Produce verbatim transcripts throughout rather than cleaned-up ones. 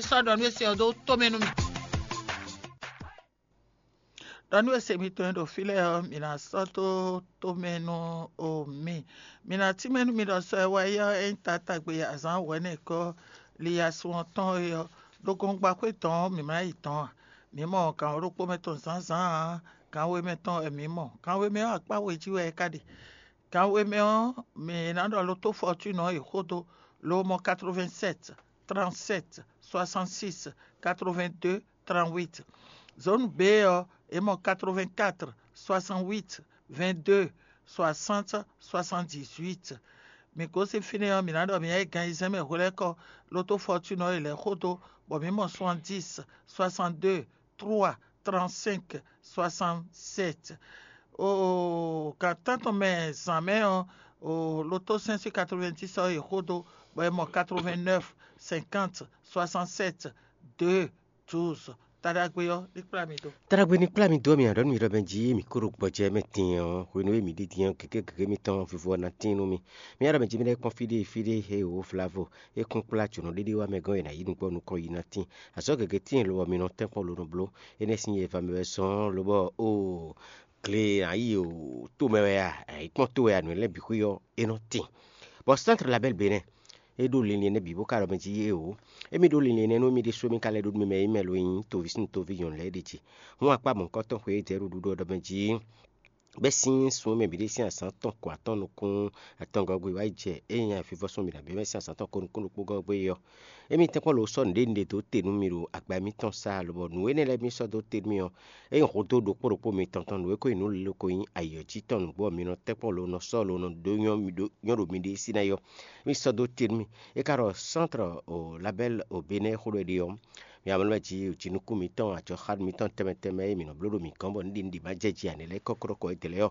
Sɔ́ ɖɔ nú é sin ɔ́ dó tomɛ nú mì. Ɖɔ nú e se mitɔn e ɖo fí lɛ́ɛ ɔ́, mǐ ná sɔ́ dó tomɛ nú o mi. Mǐ ná tínmɛ nú mi ɖɔ sɔ e wá yi ɔ́, é nyí taatagbe azǎn wɛ̌nɛkɔ́ liyasun ɔ́ tɔn é ɔ́, ɖo gɔngba xwé tɔn ɔ́, mǐ ma yi dɔn ǎ. Mǐ mɔ gǎn ɖokpó mɛ tɔn zǎnzǎn ǎ, gǎn we mɛ tɔn wɛ mǐ mɔ. Gǎn we mɛ ɔ́, akpá we jí wɛ é ka ɖe. Gǎn we mɛ ɔ́, mǐ ná ɖɔ lotó Fortune ɔ́ yi xó dó, lo mɔ quatre-vingt-sept, trente-sept, soixante-six, quatre-vingt-deux, trente-huit. Zone B ɔ́, é mɔ quatre-vingt-quatre, soixante-huit, vingt-deux, soixante, soixante-dix-huit. Mǐ gosín fínɛ́ ɔ́, mǐ ná ɖɔ mǐ ná yi gan ayizɛ́n mɛ hwelɛ́kɔ, lotó Fortune ɔ́ yi lɛ́ xó dó, bɔ mǐ mɔ soixante-dix, soixante-deux, trois, trente-cinq, soixante-sept. Oo, gan tántɔn mɛ zǎn mɛ ɔ́, oo, lotó cinq cent quatre-vingt-dix ɔ́ yi xó dó, bɔ é mɔ quatre-vingt-neuf, cinquante, soixante-sept, deux, douze. Taɖagbe ɔ́, ní kplá mi dó. Taɖagbe ní kplá mi dó, mi aɖɔ̌ nú mi ɖɔ mɛ jí mi kó ɖo gbɔjɛ mɛ din ɔ́, hwenu e mi ɖi din ɔ́, gěgé gěgé mitɔn vivo ɔ́ ná tín nú mi. Mi aɖɔ̌ mɛ jí mi ɖɛ́ kpɔ́n fí ɖé fí ɖé he wǒ vlavo, é kún kplá jǒnɔ ɖéɖé wá mɛ gɔ́n e nǎ yi nukpɔ́ nukɔn yi ná tín. Azɔ̌ gěgé tíin lo ɔ́, mi nɔ tɛ́nkpɔ́n lo nɔ bló. Énɛ́ sín nyɛ va mɛ wɛ zɔ́n lobɔ oo, gle ǎ yi o, to mɛ wɛ a, ayǐkpɔ́n to wɛ a, nǔ lɛ́ɛ bǐ xwé ɔ́, é nɔ tín. Bɔ Centre Label Bénin, é ɖó linlin énɛ́ bǐ bó ka ɖɔ mɛ jí é o. Émí ɖó linlin énɛ́ nú émí ɖésú émí ka lɛ́ ɖó nú mi mɛ e nyí mɛ lo e nyí toví sín toví nyɔ̌nu lɛ́ɛ ɖě jí. Hǔn akpá mɔ̌hunkɔtɔn xwe e jɛ ɖuɖu ɔ́ ɖɔ mɛ jí bɛ́ sín sun e mɛ bǐ ɖe sín azǎn tɔn ko atɔ́ɔ́n nukún atɔngɔ́ gbe wá yi jɛ é nyí ayǐfínvɔ́ sɔ́ mǐ ná bɛ́ sín azǎn tɔn ko nukún ɖokpó gɔ́ gbe é ɔ́, émí tɛ́nkpɔ́n lo sɔ́ nǔɖé nǔɖé dó te nú mì ɖo agba mitɔn sá, lobɔ nǔ énɛ́ lɛ́ɛ mì sɔ́ dó te nú mì ɔ́, é nyí hudó ɖokpó ɖokpó mitɔn tɔn nǔ e ko nyí nǔ lilo ko nyí ayǐ ɔ́ jí tɔn nǔgbó ɔ́, mi nɔ tɛ́nkpɔ́n lo nɔ sɔ́ lo nɔ dó nyɔ́ mi ɖó nyɔ́ ɖo miɖée sí ná yɔ. Mì sɔ́ dó te nú mì. É ka ɖɔ Centre o Label o Bénin xó ɖɔ é ɖe ɔ́, mi amlɔ jí jinukún mitɔn, ajɔxánu mitɔn tɛnmɛ tɛnmɛ e mǐ nɔ bló ɖo mǐ gɔ́n bɔ nǔɖiɖi ma jɛ ji ǎ nɛ́ lɛ́ɛ kɔ́ kɔ́ ɛ dlɛ̌ ɔ́,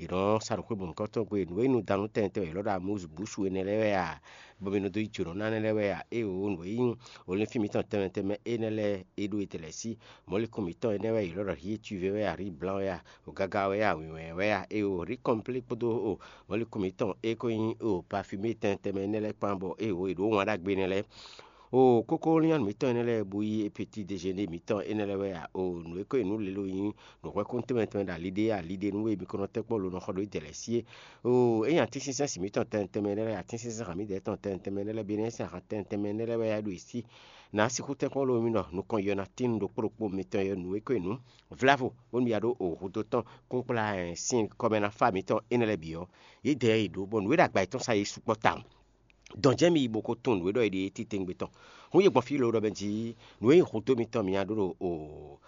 yě nɔ sa ɖo xwé mɔ̌hunkɔtɔn gbe nǔ e nú danu tɛnmɛ tɛnmɛ yě lɔ́ ɖo amúzubúsu énɛ́ lɛ́ɛ wɛ a, bɔ mi nɔ dó yi jǒnɔ ná énɛ́ lɛ́ɛ wɛ a? Éeǒ, nǔ e nyí olínfín mitɔn tɛnmɛ tɛnmɛ énɛ́ lɛ́ɛ é ɖó e tɛlɛ̌ sí. Mɔ̌likún mitɔn énɛ́ wɛ yě lɔ́ ɖɔ hié cuvé wɛ a, rí blan wɛ a, o gaga wɛ a, wǐnwɛn wɛ a? Éeǒ, rí kɔnplé kpódó o mɔ̌likún mitɔn e ko nyí o pafimé tɛnmɛ tɛnmɛ énɛ́ lɛ́ɛ kpán bɔ éeǒ, è ɖǒ wǎn ɖagbe énɛ́ lɛ́ɛ. Oo, kókó nyɔ́nu mǐtɔn énɛ́ lɛ́ɛ bó yí épetídéjéné mǐtɔn énɛ́ lɛ́ɛ wɛ a? Oo, nǔ e ko nyí nǔ lilo nyí nǔhwɛ́kún tɛnmɛ tɛnmɛ ɖo ali ɖé ali ɖé nú we mi ko nɔ tɛ́ kpɔ́ lo nɔ xɔ ɖo yi dɛ̌lɛ̌ sí é. Oo, é nyí atínsínsɛ́n sin mǐtɔn tɛnmɛ tɛnmɛ énɛ́ lɛ́ɛ, atínsínsɛ́n han mǐdɛɛ tɔn tɛnmɛ tɛnmɛ énɛ́ lɛ́ɛ, bǐ nɛ́ sín han tɛnmɛ tɛnmɛ énɛ́ lɛ́ɛ wɛ a ɖo yi sí. Nǎ sixú tɛ́ kpɔ́ lo mi ɖɔ nukɔn yɔ ná tín ɖokpó ɖokpó mitɔn yɔ nǔ e ko nyí nǔ vlavo, bónú mi ya ɖó o hudó tɔn kúnkplá sin kɔmɛ ná fá mǐtɔn énɛ́ lɛ́ɛ bǐ ɔ́, yě dɛ yɛ yi ɖǒ, bɔ nǔ e ɖo agba yětɔn sá yě sukpɔ́ tawun. Dɔn jɛ́n mi yi bó ko tunwun nǔ e ɖɔ è ɖe é titewungbe tɔn. Hún yě gbɔn fí lǒ ɖɔ mɛ jí nǔ e nyí hudó mitɔn mǐ nǎ ɖó ɖo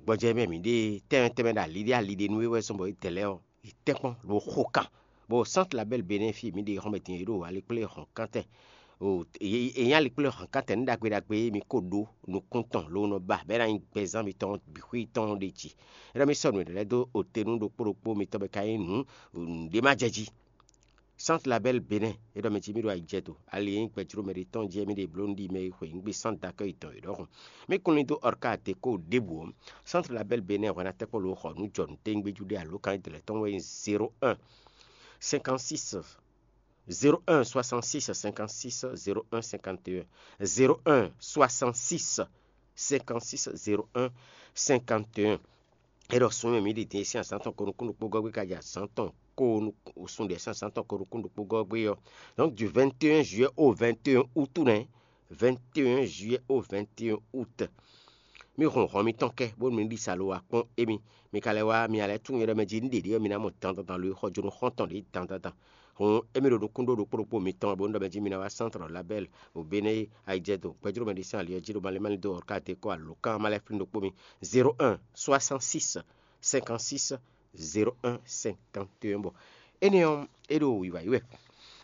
gbɔjɛ́ mɛ mǐ ɖe tɛnmɛ tɛnmɛ ɖo ali ɖé ali ɖé nú é wɛ zɔ́n bɔ é dɛ lɛ́ɛ ɔ́, è tɛ́nkpɔ́n lo xo kan, bɔ Centre Label Bénin fí mǐ ɖe xɔ́mɛ din é ɖo alikplé hɔ̌nkántɛn. È nyí alikplé hɔ̌nkántɛn nú ɖagbe ɖagbe e mi ko ɖó nukún tɔn lo nɔ ba bɔ é ná nyí gbɛzán mitɔn bǐ xwé tɔn ɖe jí. É ɖɔ mi sɔ́ nǔ lɛ́ɛ dó ote nú ɖokpó ɖokpó mitɔn bɔ é ka nyí nǔ nǔɖé ma jɛ jí. Centre Label Bénin, é ɖɔ mɛ jí mì ɖo ayijɛdo. Ali e nyí gbɛjló mɛ ɖé tɔn jí wɛ mì ɖe bló nǔɖiɖi mɛ e xwe nǔ gbe Centre d'accueil tɔn é ɖɔhun. Mì kún lin dó Orca Déco ɖěbǔ ɔ́, Centre Label Bénin hwɛ ná tɛ́ kpɔ́ lo xɔ nǔ jɔ nǔ téwúngbéjú ɖé alo kan e dlɛ̌ tɔn wɛ nyí zéro un, cinquante-six, zéro un, soixante-six, cinquante-six, zéro un, cinquante et un, zéro un, soixante-six, cinquante-six, zéro un, cinquante et un. É ɖɔ sun e mǐ ɖi din e sín azǎn tɔn ko nukún ɖokpó gɔ́ gbé ka jɛ azǎn tɔn ko sun ɖě sín azǎn tɔn ko nukún ɖokpó gɔ́ gbé ɔ́, donc du vingt et un juillet au vingt et un août nɛ́, vingt et un juillet au vingt et un août. Mì hun hɔn mitɔn kɛ bónú mi ɖi sa lo wá kpɔ́n émí. Mi ka lɛ́ wá mi alɛ tunwun e ɖɔ mɛ jí nú ɖě ɖé ɔ́, mi ná mɔ dandandan lo e xɔ jó nú xɔ́ntɔn ɖě dandandan. Hǔn émí ɖo nukún ɖó ɖokpó ɖokpó mitɔn bónú ɖɔ mɛ jí mi ná wá Centre Label o Bénin ayijɛdo gbɛjló mɛ ɖé sín ali ɔ́ jí ɖo malé malé dó Orca Déco alǒkan ma lɛ́ flín ɖokpó mi: zéro un, soixante-six, cinquante-six, zéro un, cinquante et un. Bɔ énɛ́ ɔ́, é ɖo wǐwá yi wɛ.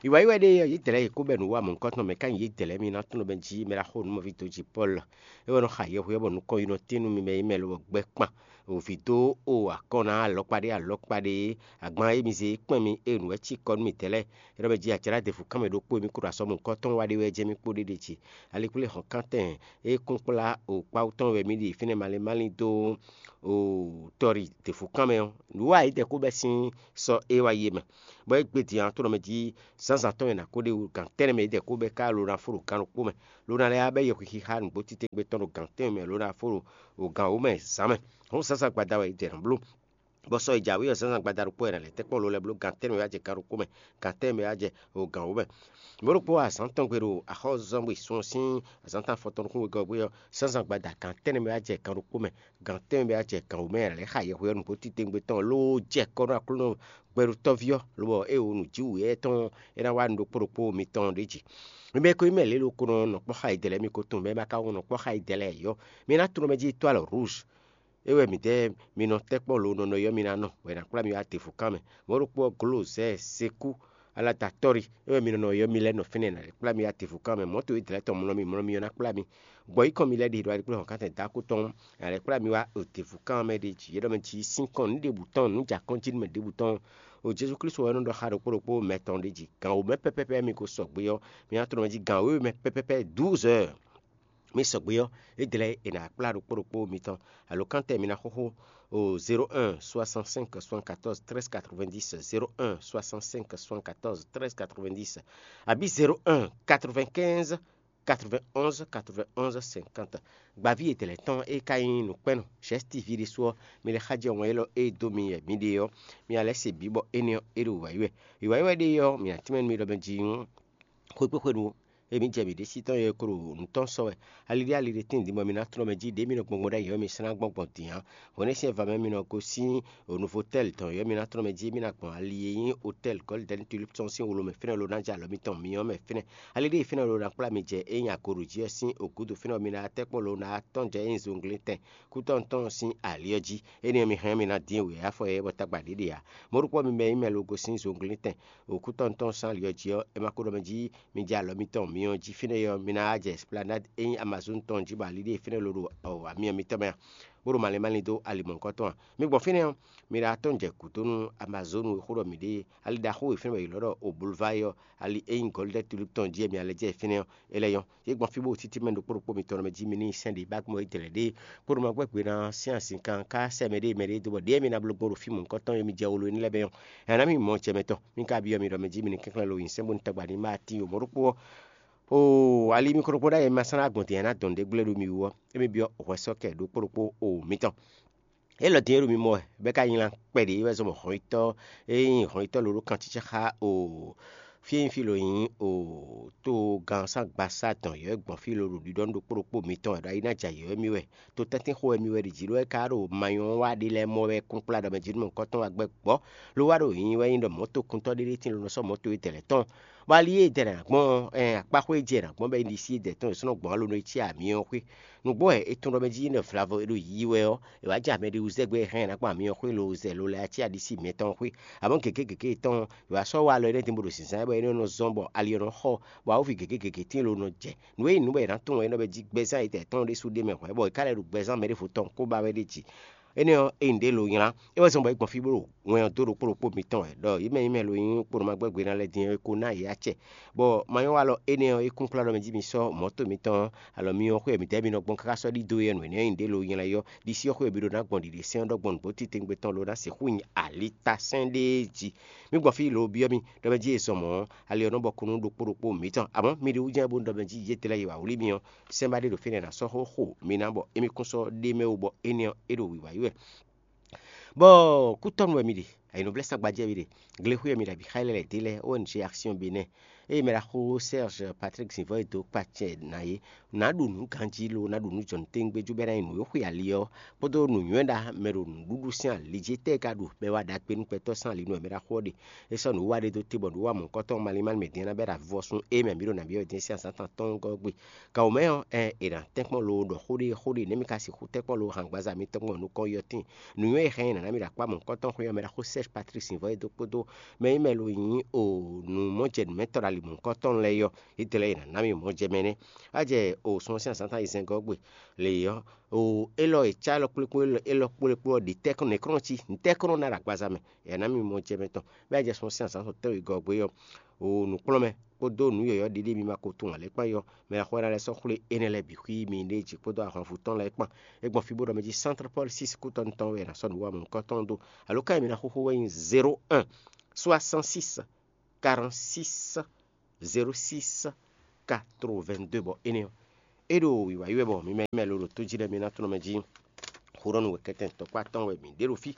Wǐwá yi wɛ ɖe ɔ́, yědɛɛ lɛ́ɛ yě kó bɛ́ nǔ wa mɔ̌hunkɔtɔn mɛ ká nyi yědɛɛ lɛ́ɛ mì ná tunwun bɔ jí mɛ ɖaxó nǔmɔví dó jí Pɔ́lu. É wɛ nɔ xa yɛhweɔ́ bɔ nukɔn yi nɔ tín nú mi mɛ e nyí mɛ lobɔ gbɛ kpan. Vǐ dó o akɔn ná alɔkpa ɖé alɔkpa ɖé, agban e mi zé kpɛn mi e nǔ wɛ cí kɔ nú mǐtɛn lɛ́ɛ. É ɖɔ mɛ jí ajlá defu kán mɛ ɖokpó e mi kó ɖo asɔmɔ̌hunkɔtɔn wa ɖé wɛ jɛ́n mì kpó ɖé ɖe jí. Alikplé hɔn kántɛn e kún kplá o kpáwú tɔn wɛ mì ɖi fínɛ́ malín malín dó o tɔ́ ɖi defu kán mɛ ɔ́, nǔ wa yědɛɛ kó bɛ́ sín sɔ́ é wá yi é mɛ, bɔ é gbe din ǎ tó nɔ mɛ jí Zǎnzǎn tɔn e nǎ ko ɖe wú gan tɛ́nnɛ mɛ é jɛ kó bɛ́ ká lo ná fó ɖo gan ɖokpó mɛ, lo ná lɛ́ wá bɛ́ yɛhwixixá nǔgbó titewungbe tɔn ɖo gan tɛ́nwe mɛ lo ná fó ɖo gan wǒ mɛ zǎn mɛ. Hǔn zǎnzǎn gbada wɛ é jɛ nǎ bló. Bɔ sɔ e jǎwe ɔ́, zǎnzǎn gbada ɖokpó wɛ è nǎ lɛ́ tɛ́nkpɔ́n lo lɛ́ɛ bló gan tɛ́nnɛ mɛ wá jɛ gan ɖokpó mɛ, gan tɛ́nnɛ mɛ wá jɛ o gan wǒ mɛ. Mɔ̌ ɖokpó azǎn tɔn gbe ɖo axɔ́zɔ́ngbe sun ɔ́ sín azǎn tɔn afɔtɔn nukún wegɔ́ ɔ́, zǎnzǎn gbada gan tɛ́nnɛ mɛ wá jɛ gan ɖokpó mɛ, gan tɛ́nnɛ mɛ wá jɛ gan wǒ mɛ, è nǎ lɛ́ xa yɛhweɔ́nú bó titewungbe tɔn lóó jɛ kɔ́ nú Aklúnɔ gbɛɖotɔ́ví ɔ́, lobɔ é wǒ nǔjíwǔyɛ́ tɔn é ná wá nǔ ɖokpó ɖokpó mitɔn ɖě jí. Mi mɛ e ko nyí mɛ lě lokunɔ nɔ kpɔ́ xa yi dɛ̌ lɛ́ɛ, mi ko tunwun mɛ e ma ka wɔn nɔ kpɔ́ xa yi dɛ̌ lɛ́ɛ ǎ é ɔ́, mi ná tló mɛ jí étoile rouge. É wɛ mǐdɛɛ mi nɔ tɛ́ kpɔ́n lo nɔ nɔ ɔ́, mi ná nɔ, bɔ è nǎ kplá mi wá Atefukan mɛ. Mɔ̌ ɖokpó ɔ́, Glozɛ́ɛ, Sekú, Alatatɔ́ri, é wɛ mi nɔ nɔ ɔ́, mi lɛ́ nɔ fínɛ́, è nǎ lɛ́ kplá mi wá Atefukan mɛ. Mɔ̌ to e dlɛ̌ tɔn mlɔ́ mi, mlɔ́ mi ɔ́ ná kplá mi. Gbɔ yí kɔn mi lɛ́ɛ ɖi ɖo aligbléhɔn kántɛn dó akú tɔn, è nǎ lɛ́ kplá mi wá Atefukan mɛ ɖé jí. É ɖɔ mɛ jí sín kɔn nǔ ɖěbǔ tɔn, nǔ jɛ akɔ́n jí nú mɛ ɖěbǔ tɔn. O Jezu Klísu wɛ nɔ ɖɔ xá ɖokpó ɖokpó mɛ tɔn ɖé jí. Gan wǒ mɛ pɛ́pɛ́pɛ́ mi ko sɔgbe ɔ́, mi ná tlɔ́ mɛ jí gan wěwe mɛ pɛ́pɛ́pɛ́ douze heures. Mi sɔgbe ɔ́, é dlɛ́ è nǎ kplá ɖokpó ɖokpó mitɔn. Alo kántɛ mi ná xóxó o zéro un soixante-cinq soixante-quatorze treize quatre-vingt-dix, zéro un soixante-cinq soixante-quatorze treize quatre-vingt-dix, abǐ zéro un quatre-vingt-quinze quatre-vingt-onze quatre-vingt-onze cinquante. Gbaví e dlɛ̌ tɔn e ka nyí nǔkpɛ́nnɔ Jɛ̌siti ví ɖésú ɔ́, mi lɛ́ xájɛ wɛn élɔ́ e dó mi wɛ mi ɖe ɔ́, mi ná lɛ́ se bǐ bɔ énɛ́ ɔ́, é ɖo wǎyi wɛ. Wǎyi wɛ ɖe ɔ́, mi ná tínmɛ nú mi ɖɔ mɛ jí xwé kpé xwenu emi jɛ mǐ ɖésú tɔn e ko ɖo nǔ tɔn sɔ́ wɛ. Ali ɖé ali ɖé tíin din bɔ mi ná tlɔ́n mɛ jí ɖě mi nɔ gbɔngbɔn ɖ'ayǐ ɔ́, mi slán gbɔn gbɔn din ǎ. Hwenɛ́ sín vǎ mɛ mi nɔ gosín Novotel tɔn ɔ́, mi ná tlɔ́n mɛ jí mi ná gbɔn ali e nyí Hotel Golden Tulip tɔn sín wlo mɛ fínɛ́ lo ná jɛ alɔ mitɔn myɔ mɛ fínɛ́. Ali ɖé e fínɛ́ lo ná kplá mi jɛ é nyí agoɖo jí ɔ́ sín ògúdo fínɛ́ ɔ́, mi ná tɛ́ kpɔ́n lo ná tɔ́n jɛ é nyí zunglíntɛn kútɔ́ tɔn sín ali ɔ́ jí. Énɛ́ ɔ́, mi hɛn mi ná dín wěyá afɔ yɛ bɔ tagba ɖě ɖe ǎ. Mɔ̌ ɖokpó mi mɛ nyí mɛ lo gosín zunglíntɛn òkútɔ́ tɔn sín ali ɔ́ jí ɔ́, é ma ko ɖɔ mɛ jí mi jɛ alɔ mitɔn myɔ jí fínɛ́ ɔ́, mi ná wá jɛ Esplanade e nyí Amazon tɔn jí bɔ ali ɖé e fínɛ́ lo ɖo amyɔ mitɔn mɛ a, bó ɖo malín malín dó ali mɔ̌hunkɔtɔn a. Mi gbɔn fínɛ́ ɔ́, mi ɖo atɔ́n jɛ gǔdo nú Amazonu e xó ɖɔ mǐ ɖe ali ɖaxó e fínɛ́ bɔ è ylɔ́ ɖɔ o Boulevard ɔ́, ali e nyí Golden Tulip tɔn jí e mi ná lɛ́ jɛ fínɛ́ ɔ́, é lɛ́ nyɔ́. Yě gbɔn fí bó ɖo títí mɛ ɖokpó ɖokpó mitɔn mɛ jí mi ní nyi sɛ́n ɖě bá gbɔn é dlɛ̌ ɖé kpódó ma gbɛ́ gbe ná sín azinkan ká sɛ mɛ ɖé mɛ ɖé dó bɔ ɖěe mi ná bló gbɔn ɖo fí mɔ̌hunkɔtɔn yě mi jɛ wolo énɛ́ lɛ́ɛ mɛ ɔ́, ɛ ná mi mɔ jɛ mɛ tɔn. Mi ka byɔ́ mi ɖɔ mɛ jí mi ní kɛnklɛ́n lo nyi sɛ́n bó ní tagba ní ma tín o mɔ̌ ɖokpó ɔ́. Oo, ali mi kplɔ́nkplɔ́n ɖ'ayǐ, mi ma sɔ́ ná gbɔn din ǎ ná dɔn nǔɖé gblé ɖo mi wú ɔ́, émí byɔ́ hwɛsɔ́kɛ ɖokpó ɖokpó o mitɔn. Élɔ́ din e ɖo mi mɔ wɛ, bɛ́ ka nylá kpɛɖé wɛ zɔn bɔ hɔnyitɔ́ e nyí hɔnyitɔ́ lǒ ɖó kancícá xá o fí e nyí fí lo nyí o togán sín agbasá dɔn yɔ̌yɔ́ gbɔn fí lo ɖo ɖiɖɔ nú ɖokpó ɖokpó mitɔn wɛ ɖɔ ayi ná jɛ ayǐ wɛ mì wɛ. To tɛ́ntin xo wɛ mì wɛ ɖi jǐ ɖó wɛ ka ɖo manyɔ wa ɖé lɛ́ɛ mɔ wɛ kúnkplá ɖɔ mɛ jí nú mɔ̌hunkɔtɔn wa gbɛ́ gbɔ̌. Lo wá ɖo nyinyi wɛ nyí ɖɔ mɔ̌tokuntɔ́ ɖé ɖé tíin lo nɔ sɔ́ mɔ̌to e dɛ̌lɛ́ tɔn. Bɔ ali e dɛ nǎ gbɔn ɔ́, ɛn akpáxwé e jɛ nǎ gbɔn bɔ é ɖi sí e dɛ̌ tɔn è sɔ́ nɔ gbɔn alo nɔ yi cí amyɔ ɔ́ xwé. Nǔgbó wɛ é tunwun ɖɔ mɛ jí nɔ vlavo é ɖo yiyi wɛ ɔ́, è wǎ jɛ mɛ ɖé wú zɛ gbé hɛn ná gbɔn amyɔ xwé lo zɛ lo lɛ́ɛ cí aɖisí mɛtɔn xwé. Amɔ̌ gěgé gěgé tɔn è wǎ sɔ́ wa alɔ énɛ́ din bó ɖo zǐnzán bɔ énɛ́ nɔ zɔ́n bɔ ali ɔ́ nɔ xɔ, bɔ awǒvi gěgé gěgé tíin lo nɔ jɛ. Nǔ e nyí nǔ bɔ è nǎ tunwun é nɔ bɛ jí gbɛzán yětɛn tɔn ɖésú ɖ'é mɛ hwɛ̌, bɔ è ka lɛ́ ɖo gbɛzán mɛ ɖěvo tɔn kó ba wɛ ɖ'é jí. Énɛ́ ɔ́, é nyí ɖě lo nylá. É wɛ zɔ́n bɔ é gbɔn fí bó ɖo wɛn ɔ́ dó ɖokpó ɖokpó mitɔn wɛ, ɖɔ yě mɛ nyí mɛ lo nyí kponɔ ma gbɛ́ gbe ná lɛ́ɛ din ɔ́, é ko ná yě acɛ. Bɔ manyɔ́walɔ énɛ́ ɔ́, é kún kplá ɖɔ mɛ jí mi sɔ́ mɔ̌to mitɔn alɔ mi ɔ́ xwé mǐdɛɛ mi nɔ gbɔn káká sɔ́ ɖidó yɛ nǔ énɛ́ ɔ́ nyí ɖě lo nylá yɔ́. Ɖisí ɔ́ xwé mi ɖo ná gbɔn ɖiɖe sɛ́n ɔ́ ɖɔ gbɔn nǔgbó titewungbe tɔn lo ná sixú nyi alitasɛ́n ɖé jí. Mi gbɔn fí lo byɔ́ mì ɖɔ mɛ jí è zɔn mɔ̌ ɔ́, ali ɔ́ nɔ bɔ kúnnu ɖokpó ɖokpó mitɔn. Amɔ̌ mi ɖi wú jɛ́n bó ɖɔ mɛ jí yě tlɛ́ yi wǎ wlí mi ɔ́, sɛ́n ba ɖé ɖo fínɛ́ ná sɔ́ xó xo mi ná bɔ émí kún sɔ́ ɖ'é mɛ wú bɔ énɛ́ ɔ́, é ɖo wǐwá yi wɛ. Bɔ kútɔ́nu wɛ mi ɖe, ayǐnúvlɛ́ sagbajɛ mi ɖe, glexwé wɛ mi ɖe abǐ xa lɛ́ lɛ̌ ɖé lɛ́ɛ, O N G Action Bénin. Ée mɛ ɖaxó Serge Patrick Zivɔ e dó kpacɛ ná é, nǎ ɖu nǔ ganjí lo ná ɖu nǔ jɔ̀nútɛ́ngbéjú bɔ é ná nyí nǔ e xwe ali ɔ́, kpódó nǔnywɛ́ ɖa mɛ ɖo nǔɖuɖu sín ali jí tɛ́ e ka ɖu bɔ é wá ɖagbe nú gbɛtɔ́ sín ali nú wɛ mɛ ɖaxó ɔ́ ɖe. É sɔ́ nǔwiwa ɖé dó te bɔ nǔwiwa mɔ̌hunkɔtɔn malín malín mɛ din ná bɛ́ ɖo avɔ sun ée mɛ mǐ ɖo nǎ byɔ́ din sín azǎn tɔn atɔ́ɔ́ngɔ́ ɔ́ gbe. Gǎn wǒ mɛ ɔ́, ɛ è nǎ tɛ́nkpɔ́n lo ɖɔ xó ɖé xó ɖé nɛ̌ mi ka sixú tɛ́nkpɔ́n lo hǎngbaza mitɔn gbɔn nukɔn yɔtín. Nǔnywɛ́ e hɛn ɛ nǎ ná mi ɖo akpá mɔ̌hunkɔtɔn xwé ɔ́, mɛ ɖaxó Serge Patrick Sinvɔ́ e dó kpódó mɛ e mɛ lo nyí o nǔ mɔjɛnǔmɛtɔ́ ɖo ali mɔ̌hunkɔtɔn lɛ́ɛ ɔ́, yědɛɛ lɛ́ɛ è nǎ ná mi mɔjɛmɛ nɛ́. Á jɛ o sun ɔ́ sín azǎn tɔn ayizɛ́ngɔ́ gbe lě ɔ́, o élɔ́ e cá élɔ́ kplé kplé élɔ́ kplé kplé ɔ́ ɖi tɛ́ kɔn nɛ̌kɔ́nɔ cí, ntɛ́ kɔn nɔ ná ɖo agbaza mɛ, è nǎ mi mɔjɛmɛ tɔn. Bɔ é jɛ sun ɔ́ sín azǎn tɔn tɛ́nwe gɔ́ gbe ɔ́, o nǔkplɔ́nmɛ kpódó nǔ yɔ̌yɔ́ ɖiɖe mi ma ko tunwun ǎ lɛ́ɛ kpán yɔ, mɛ e xwɛ ná lɛ́ sɔ́ xwlé énɛ́ lɛ́ɛ bǐ xwí mi ɖé jí kpódó ahwanvú tɔn lɛ́ɛ kpán. É gbɔn fí bó ɖɔ mɛ jí Centre Paul six kútɔ́nú tɔn wɛ è nǎ sɔ́ nǔ wa mɔ̌hunkɔtɔn dó. Alo ká e mi ná xóxó wɛ nyí zéro un soixante-six quarante-six zéro six quatre-vingt-deux, bɔ énɛ́ ɔ́, é ɖo wǐwá yi wɛ bɔ mi mɛ mɛ lo ɖo tó jí lɛ́ɛ mi ná tlɔ́n mɛ jí. Xó ɖɔ nú wɛ kɛ́tɛn tɔkpá tɔn wɛ mǐ ɖe ɖo fí,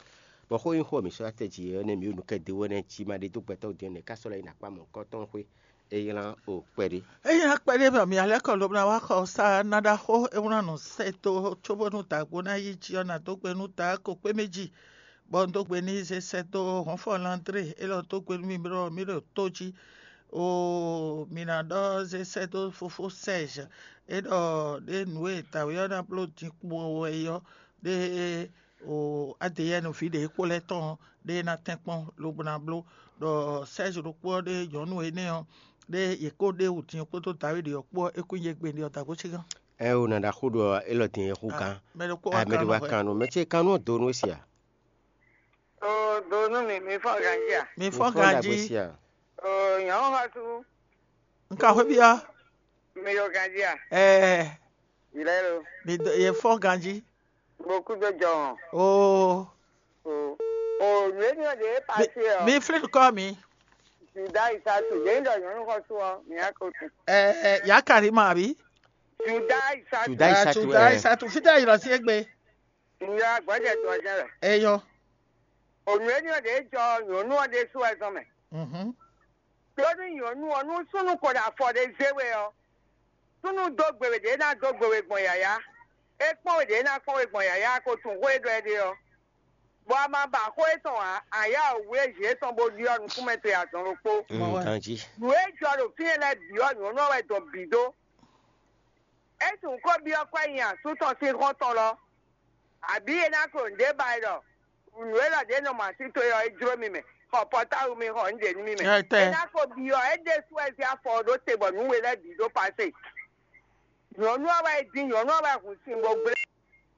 bɔ xó nyí xó e mǐ sɔ́ wá tɛ jí ɔ́ nɛ́ mǐ ɖo nǔ kɛ dó wɛ nɛ́ jí ma ɖe dó gbɛtɔ́ din ɔ́, nɛ̌ ká sɔ́ lɛ́ nyi akpá mɔ̌hunkɔtɔn xwé é nylá o kpɛɖé. Ényí akpɛɖé mɛ mǐ alɛ́ kɔ lobo ná wá xɔ sá ná ɖaxó é wlán nǔ sɛ́ dó cóbónú dǎgbó ná yí jí ɔ́, ná dó gbe nú dǎ ko kpé mɛ jí, bɔ un dó gbe n'i zé sɛ́ dó Hɔnfɔ Landré, élɔ́ dó gbe nú mì ɖɔ mì ɖo tó jí. Oo, mǐ ná ɖɔ zé sɛ́ dó fofó Sɛ́ɛzh, é ɖɔ ɖé nǔ e dǎwe ɔ́ ná bló din kpowun wɛ é ɔ́, ɖé o Adeyɛ́ɛnu ví ɖě kpó lɛ́ɛ tɔn ɔ́, ɖé ná tɛ́nkpɔ́n lobo ná bló ɖɔ Sɛ́ɛzh ɖokpó ɔ́ ɖé nyɔ̌nu énɛ́ ɔ́, ɖé yě kó ɖe wǔ din kpódó Dawídi ɔ́ kpó ɔ́, é kún nyí égbé ɖi ɔ́ dǎgbó cí gán. Ɛ o nǎ ɖaxó ɖɔ élɔ́ din e xú gán. Mɛ ɖokpó wá Amɛɖi kan wá nɔ hwɛ. Kan nú mɛ ce kan nú ɔ́ do nú we sia. O do nú mi, mi fɔ ganjí a? Mi fɔ Fɔ ganjí. Dagbe sia. O nyɔ̌nu xɔsu, Un ka xwé byɔ́. Mi ɖo ganjí a? Ɛɛ, Yi lɛ́ lo. Mi dɔ- ye fɔ ganjí. Beaucoup de gens. Oo. O o nǔ énɛ́ ɔ́ ɖě Mi, passé ɔ́, mi flin kɔ mi. Juda Isatu ɖě ɖɔ nyɔ̌nu xɔsu ɔ́, mi ná ko tu. Ɛɛ, ya Karima àbí? Juda Isatu. Juda Isatu, Juda ɛ. Isatu, fítɛ́ yìlɔ sí égbé. Nya gbɔjɛ dɔjɛ lɛ. Eyɔ. Onu eni ɔ́ ɖě jɔ nyɔ̌nu ɔ́ ɖésú wɛ zɔn mɛ. Mhm. Ɖó nú nyɔ̌nu ɔ́, nú súnnu ko ɖo afɔ ɖé zé we ɔ́, súnnu dó gbe we ɖě ná dó gbe we gbɔn yǎyá. É kpɔ́n we ɖě ná kpɔ́n we gbɔn yǎyá ko tunwun xó e ɖɔ é ɖe ɔ́. Bɔ a ma ba xó étɔn ǎ, a yá wǔ e zǐ étɔn bó ɖyɔ́ nukúnmɛ towe azɔn ɖokpó. Mm, Mɔ wɛ. Ganjí. Nǔ e jɔ ɖo fínɛ́ lɛ́ɛ bǐ ɔ́, nyɔ̌nu ɔ́ wɛ dɔn bǐ dó. É tunwun xó byɔ́ kwɛ́ nyi asú tɔn sín xɔ́ntɔn lɔ, abǐ é ná ko nǔɖé ba ɛ ɖɔ nǔ élɔ́ ɖě nɔ mɔ así towe ɔ́, é jló mi mɛ, xɔ pɔtáwu mi xɔ nǔɖé nú mi mɛ. Ɛ tɛ. É ná ko byɔ́ é ɖésú wɛ zé afɔ ɔ́ ɖó te bɔ nǔ we lɛ́ɛ bǐ ɖó pasé. Nyɔ̌nu ɔ́ wɛ é dín, nyɔ̌nu ɔ́ wɛ hun sin bó gblé.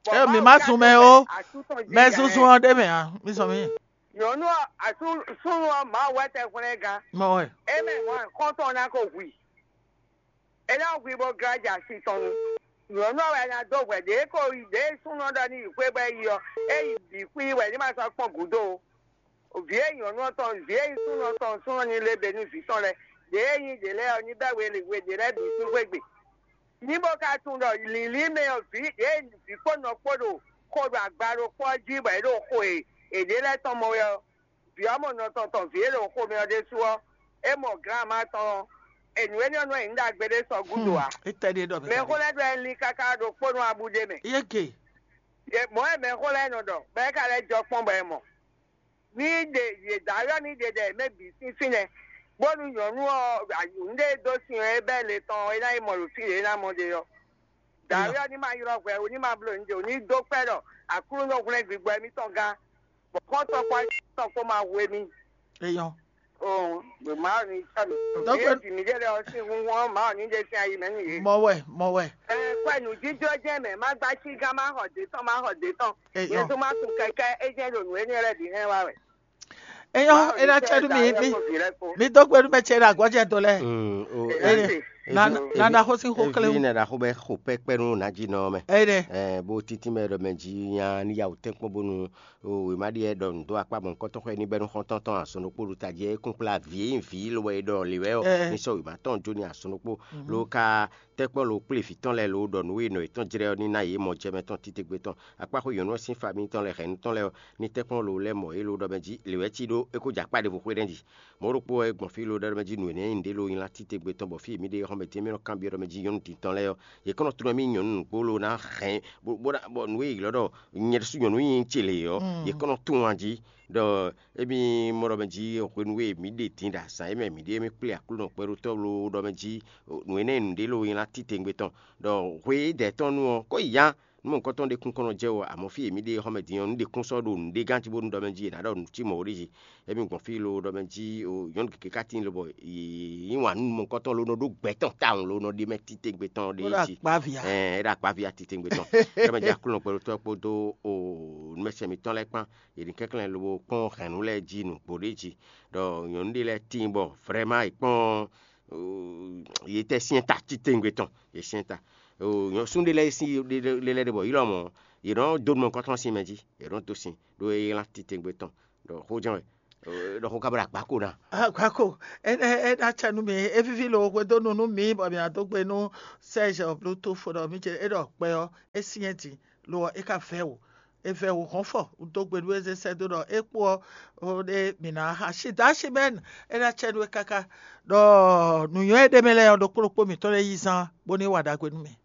Bɔ É, mi Mawu má ka zun dó mɛ bɛ́ ó. Asú tɔn jí Mɛ nya zúnzún lɛ́ɛ. Ɔ́ ɖé mɛ ǎ. Mi sɔ mi. Nyɔ̌nu ɔ́, asú súnnu ɔ́, Mawu wɛ tɛ hwlɛ́n gán. Mɔ wɛ. É mɛ mɔ̌ xɔ́ntɔn ná ko hu i. É ná hu i bó glá jɛ asi tɔn nu. Nyɔ̌nu ɔ́ wɛ ná dó hwɛ ɖě ko yi ɖě súnnu ɔ́ ɖɔ ní yi xwé bɔ é yi ɔ́, é yi bǐ xwí wɛ ní ma sɔ́ kpɔ́n gǔdo ó. Vǐ e nyɔ̌nu ɔ́ tɔn, vǐ e nyí súnnu ɔ́ tɔn súnnu ɔ́ ní lé bě nú vǐ tɔn lɛ́ɛ. Ɖě e nyí ɖě lɛ́ɛ ɔ́ ní bɛ́ we we ɖě lɛ́ɛ bǐ sín xwé gbe. Ní bó ka tunwun ɖɔ lǐlí mɛ ɔ́ vǐ ɖě vǐ kpó nɔ kpó ɖo xo ɖo agba ɖokpó ɔ́ jí bɔ é ɖo xo e è ɖě lɛ́ɛ tɔn mɔ wɛ ɔ́, vǐ ɔ́ mɔ nɔ tɔn tɔn vǐ e ɖo xomɛ ɔ́ ɖésú ɔ́, é mɔ glǎnma tɔn ɔ́, è nǔ énɛ́ ɔ́ nɔ nyí ɖagbe ɖé sɔ́ gúdo ǎ. É tɛ ɖé ɖɔ mɛ Mɛxó lɛ́ɛ ɖɔ ɛ lín káká ɖokpó nú abú ɖé mɛ. Yé ke. Yě mɔ̌ wɛ mɛxó lɛ́ɛ nɔ ɖɔ, bɔ é ka lɛ́ jɔ kpɔ́n bɔ è mɔ. Ní ɖe yě dó ayɔ́ ní ɖe ɖɛ mɛ bǐ sín fínɛ́, bónú nyɔ̌nu ɔ́ nǔɖé e dó sin ɔ́, é bɛ́ le tɔn ɔ́, é ná yi mɔ ɖo fí ɖě é ná mɔ ɖe ɔ́. Dǎwe ɔ́ ní ma ylɔ́ hwɛ ó, ní ma bló nǔɖé ó, ní dó kpɛ́ ɖɔ Aklúnɔ hwlɛ́n gbigbɔ émítɔn gán, bɔ xɔ́ntɔn kpó ayǐkúngban kpó ma hu émí. Eyɔn. Oo, ɖo Mawu ní sɔ́ mi. Donc, Vǐ e ji mǐ ɖe lɛ́ɛ ɔ́ sín hunhun ɔ́, Mawu ní ɖe sín ayi mɛ nú yě. Mɔ wɛ, mɔ wɛ. Ɛ, kwɛ nǔjíjó jɛ́n mɛ, má gbá cí gán, má xɔ dě tɔn, má xɔ dě tɔn. Eyɔn. Yě tún má kun kɛkɛ́, é jɛ́n ɖo nǔ énɛ́ lɛ́ɛ bǐ hɛn wá wɛ. Eyɔn, Mawu é ná ní cɛ́ nú mi, sɛ́ mi, dǎwe kpó vǐ lɛ́ɛ kpó. Mi dó gbe nú mɛ ce ɖo agɔ̌ jɛ do lɛ́ɛ. Mm, o, Ɛ, Ene. Ná, ná, ná xó sín xó Evi klé wú. Nɛ ɖaxó bɛ xo pɛkpɛ nú Najinɔ mɛ. Ene. Ɛ, bó títí mɛ ɖɔ mɛ jí nya ní ya wò tɛ́nkpɔ́n bónú o wěma ɖíe ɖɔ nǔ dó akpá mɔ̌hunkɔtɔn xɔ ní bɛ́ nú xɔ́ntɔn tɔn azɔn ɖokpó ɖo tají é kún kplá vǐ e nyí vǐ lo wɛ é ɖɔ lě wɛ ɔ́, Ɛ. Ní sɔ́ wěma tɔn jó ní azɔn ɖokpó. Mhm. Ló ka tɛ́kpɔ́ lo kplé vǐ tɔn lɛ́ɛ lo ɖɔ nǔ e nɔ yětɔn jlɛ́ ɔ́ ní ná yě mɔ jɛ mɛ tɔn títégbe tɔn. Akpáxó nyɔ̌nu ɔ́ sín fami tɔn lɛ́ɛ hɛ̌nnu tɔn lɛ́ɛ ɔ́, ní tɛ́nkpɔ́n lo lɛ́ mɔ yě lo ɖɔ mɛ jí lě wɛ cí ɖó é kó jɛ akpá ɖěvo xwé ɖɛ́ jí. Mɔ̌ ɖokpó wɛ gbɔn fí lo ɖɔ mɛ jí nǔ énɛ́ nyí nǔɖé lo nylá títégbe tɔn bɔ fí e mǐ ɖe xɔmɛ dín mɛ nɔ kanbyɔ́ ɖɔ mɛ jí nyɔ̌nu din tɔn lɛ́ɛ ɔ́, yě kɔn nɔ tunwun mì nyɔ̌nu nǔgbó lo ná hɛn bó bó ná bɔ nǔ e yě ylɔ́ ɖɔ nyɛ ɖésú nyɔ̌nu nyí ce lě ɔ́, Mm. Yě kɔn nɔ tunwun a jí ɖɔ émí mɔ ɖɔ mɛ jí hwenu e mǐ ɖe din ɖo azǎn e mɛ mǐ ɖe mì kplé Aklúnɔ kpɛɖótɔ́ lo ɖɔ mɛ jí nǔ énɛ́ nǔɖé lo nylá títengbe tɔn ɖɔ hwe dɛ̌ tɔn nu ɔ́, kó yi ya nú mɔ̌hunkɔtɔn ɖé kún kɔn nɔ jɛ o, amɔ̌ fí e mǐ ɖe xɔmɛ din ɔ́, nǔɖé kún sɔ́ ɖo nǔɖé gán jí bónú ɖɔ mɛ jí è nǎ ɖɔ nǔ cí mɔ̌ ó ɖ'é jí. Émí gbɔn fí lo ɖɔ mɛ jí o nyɔ̌nu gěgé ka tíin lobɔ yě yí wǎn nú mɔ̌hunkɔtɔn lo nɔ ɖó gbɛ̌ tɔn tawun lo nɔ ɖe mɛ títengbe tɔn ɖé Ó ɖo jí. Akpávi a? Ɛɛ, é ɖo akpávi a títengbe tɔn. Ɖɔ mɛ jí Aklúnɔ kpɛɖótɔ́ kpódó o nǔmɛsɛn mǐtɔn lɛ́ɛ kpán, yě ní kɛnklɛ́n lobo kpɔ́n hɛ̌nnu lɛ́ɛ jí nǔgbó ɖé jí. Ɖɔ nyɔ̌nu ɖé lɛ́ɛ tíin bɔ vrɛ́ma è kpɔ́n o, yě tɛ syɛ́n ta títengbe tɔn, yě syɛ́n ta. O nyɔ̌sú ɖé lɛ́ɛ sín ɖé lɛ́ɛ ɖé bɔ ylɔ́ mɔ̌, yě nɔ dó nú mɔ̌hunkɔtɔn sín mɛ jí, yě nɔ dó sin ɖó é ylán títengbe tɔn. Ɖɔ xó jɛ́n wɛ. Ɖɔ xó ka bɔ ɖo agbáko ná. Agbáko, é ná cɛ nú mi, é víví lo hwedónu nú mi bɔ mi ná dó gbe nú Serge Bluetooth ɖɔ mi ce é ɖɔ kpɛ ɔ́ é syɛ́n din, lo ɔ́ é ka vɛ́ wǔ, é vɛ́ wǔ hɔn fɔ dó gbe nú é zé sɛ́ dó ɖɔ é kpó ɔ́ ɖé mǐ ná xa. Asi dá asi mɛ é ná cɛ nú é káká ɖɔ nǔnywɛ́ é ɖ'é mɛ lɛ́ɛ ɔ́ ɖokpó ɖokpó mǐtɔn lɛ́ɛ yí zán bónú é wa ɖagbe nú mì.